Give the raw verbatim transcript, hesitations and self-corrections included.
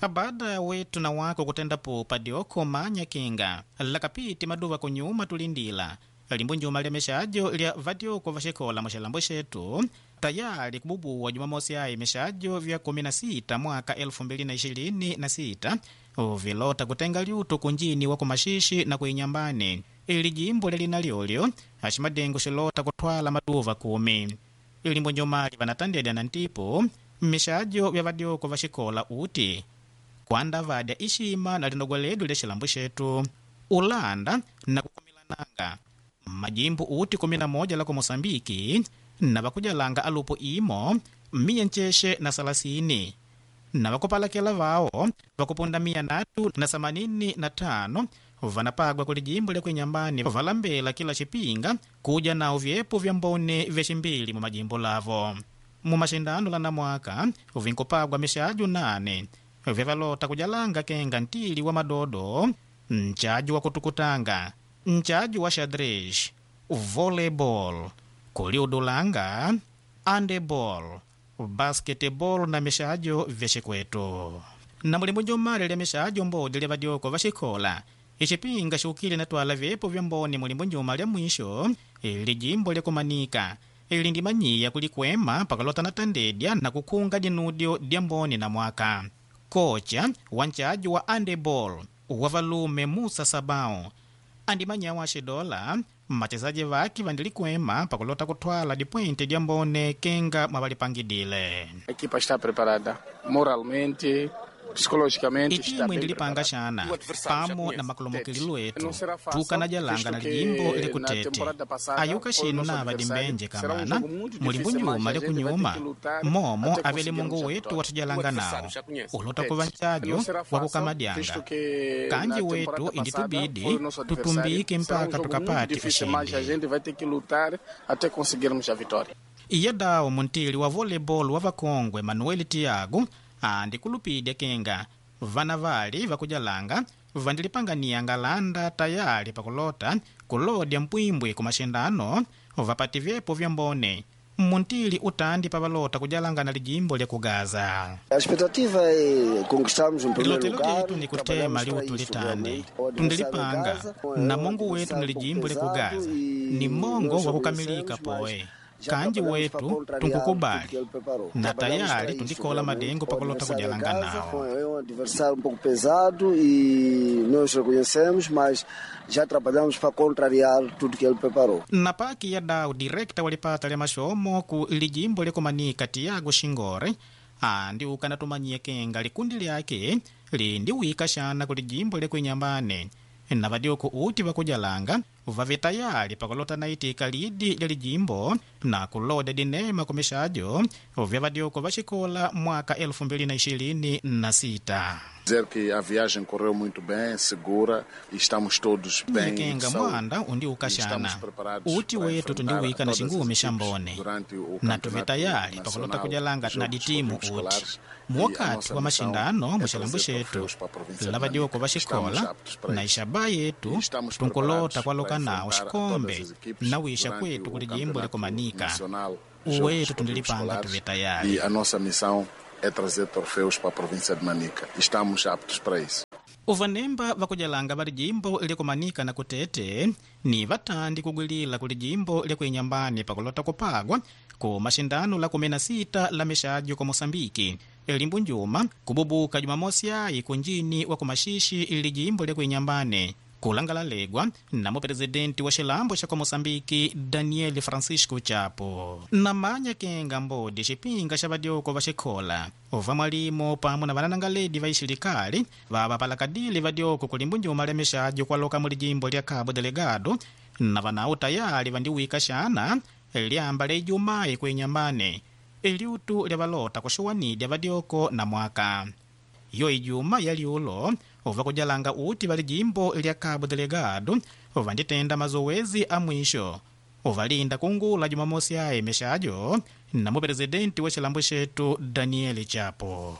Baada wetu na wako kutenda pupa dioko manya kinga lakapiti maduva kunyuma tulindila limbu njuma lya mixajo lya vadioko vaxikola muxilambo xetu tayali kububuwa jumamosi ayi mixajo vya kumi na sita mwaka elfu mbili na ishirini na sita vilota kutenga lyutu kunjini wa kumaxixi na kuinyambani ili jimbo lelina lyolyo aximadengo xilota kutwala maduva kumi ilimbo njumali vanatandedya na ntipu mixajo vya vadioko vaxikola uti kwanda vadya ixima na linogwa ledu lya xilambo xetu ulanda na kukumilananga majimbo uti kumi na moja la ku Mosambiki na vakujalanga alupo imo miya ncexe na salasini na vakupalakela vao vakupunda miya natu na samanini na tano vanapagwa kuli jimbo lya kuinyambani valambela kila xipinga kuja nao vyepo vya mbone vya ximbili mu majimbo lavo mu maxindano la namwaka vinkupagwa mixaju nane vyavalota kujalanga kenga ntili wa madodo nchaju wa kutukutanga nchaju wa xadrez volleyball kuliudulanga handeball basketball na mixajo vya xikwetu na mulimbu njumali lya mixajo mbodi lya vadioko va xikola ixipinga xiukile na twala vyepo vya mboni mulimbu njuma lya mwisho ili jimbo lya kumanika ili ndimanyiya kulikwema pakalota na tandedya na kukhunga dinudio dya mboni na mwaka kocha wa nchajo wa handeball wa valume Musa Sabao andimanyawo axidola machezaji vake vandilikwema pakulota kutwala dipointe dya mbone kenga mwavalipangidile A equipa está preparada moralmente, psicologicamente está itimu bem indilipanga preparada. xana O adversário já pamo conhece, na makulumukililu Tete. etu Não será fácil, tukanajalanga visto na que lijimbo na likutete temporada passada ayuka foi o xinu nosso nava adversário. dimbenje Será um kamana jogo muito mulimbu difícil, mas nyuma a gente vai ter likunyuma que lutar momo até avele conseguirmos mungu a wetu vitória. watujalanga O adversário nawo já conhece. ulota Tete. kuva nchajo Não será wa fácil, kukamadyanga visto que kanji na wetu temporada passada inditubidi foi o nosso adversário. tutumbike Será um mpaka jogo muito tukapate difícil, mas a ushindi gente vai ter que lutar até conseguirmos a vitória. iye dawo muntili wa volleyball wa vakongwe Manuel Tiago andikulupidya kenga vana vali vakujalanga vandilipanganiya ngalanda tayali pakulota kulodya mpwimbwi ku maxindano vapati vyepo vya mbone muntili utandi pavalota kujalanga na lijimbo lya kugaza A expectativa é conquistarmos um primeiro lilotelo lugar. lyetu ni kutema Trabalhamos para liutu isso, litande realmente. O adversário em tundilipanga casa é na um mongo wetu adversário ni um pouco lijimbo lya pesado kugaza e ni mongo nós wa kukamilika reconhecemos, mas poe já kanji trabalhamos para wetu contrariar tudo tunkukubali que ele preparou. na Trabalhamos para tayari isso, tundikola realmente. madengo O pakulota adversário em kujalanga casa nawo foi- é um adversário um pouco pesado e nós reconhecemos, mas já trabalhamos para contrariar tudo que ele preparou. Na paki ya dau direkta walipata lya maxomo ku lijimbo lyakumanika Tiago Xingore andi ukanatumanyie kenga likundi lyake lindiwika xana ku lijimbo lyakuinyambane na vadioko uti vakujalanga vave tayali pakulota naitika lidi lya lijimbo na kuloda dinema ku mixajo vya vadioko vaxikola mwaka elfu mbili na ishirini na sita Dizer que a viagem correu muito bem, segura e estamos todos bem de kenga saúde. mwanda E estamos undiukaxana preparados uti para wetu enfrentar tundiwika na todas as xingumi xa equipes mbone durante o na tuve Campeonato tayali pakulota Nacional kujalanga de na Jogos ditimu Esportivos uti Escolares. E a muwakati nossa wa missão maxindano é muxilambo trazer xetu troféus para a província de lava dioko Manica. va Estamos xikola aptos para na isso. ixaba yetu E estamos tunkulota preparados kwaloka para nawo enfrentar xikombe todas as equipes na wixa durante kwetu o kuli jimbo Campeonato lyakumanika Nacional de Jogos uwetu Esportivos tundilipanga Escolares. tuve tayali E a nossa missão é trazer troféus para a província de Manica. Estamos aptos para isso. Uvanemba vakujalanga va lijimbo lyakumanika na kutete ni vatandi kugwilila ku lijimbo lyakuinyambani pakulota kupagwa ku maxindano la kumi na sita la mixajo ku Mosambiki limbu njuma kububuka jumamosi ayi kunjini wa kumaxixi lijimbo lyakuinyambani kulangala legwa namo presidenti wa xilambo xa ku Mosambiki Daniel Francisco Chapo namanya kenga mbodi xipinga xa vadioko va xikhola ova mwalimo pamwe na vananangaledi va ixilikali vavapalakadile vadioko kulimbu njuma lya mixajo kwaloka mu lijimbo lya Cabo Delgado na vanau tayali vandiwika xana lyamba lya ijumayi kuinyambane iliutu lya valota kuxuwanidya vadioko na mwaka yo ijuma ya liulo uvakujalanga uti va lijimbo lya Cabo Delgado uvanditenda mazowezi a mwisho uvalinda kungula jumamosi ayi mixajo na mupresidenti wa xilambo xetu Daniel Chapo.